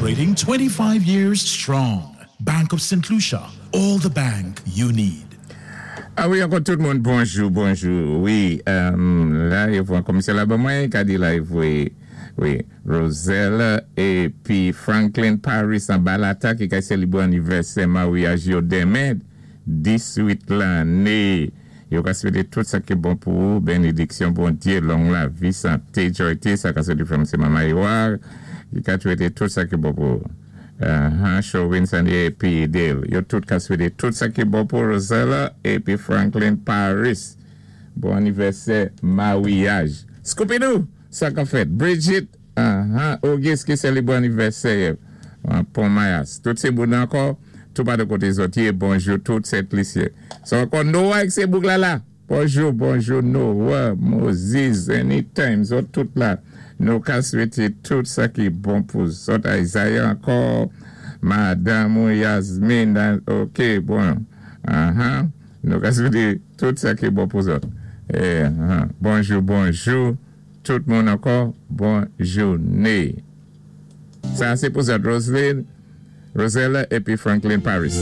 Celebrating 25 years strong. Bank of St. Lucia, all the bank you need. A wi ankò tout moun bonjou bonjou wi la yo pran komisè la ban mwen ka di la yo voye wi Rosella epi Franklin Paris anba lata ki kay selebre anivèsè maryaj yo demen 18 lane yo ka swete tout sa ki bon pou ou benediksyon Bondye long lavi sante joyte sa ka soti frèm se mama Ewa ki ka swete tout sa ki bon pou ou. Ahaa Chowin Sandie epi Dale yo tout ka swete tout sa ki bon pou Rosella epi Franklin Paris bon anivèsè maryaj Scoopidou sa kap fèt Bridget ahaa Auguste ki selebre anivèsè yè Pon Mayas tout se moun ankò tou patou kote zòt ye bonjou tout Sent Lisyen sa ankò Noah ek se bouk lala. Bonjou bonjou Noah, Moses, anytime zòt tout la nou ka swete tout sa ki bon pou zòt Isaiah ankò madanm ou Yasmine ok bon ahan nou ka swete tout sa ki bon pou zòt eh bonjou bonjou tout moun ankò bon joune sa se pou zòt Roseline Rosella epi Franklin Paris.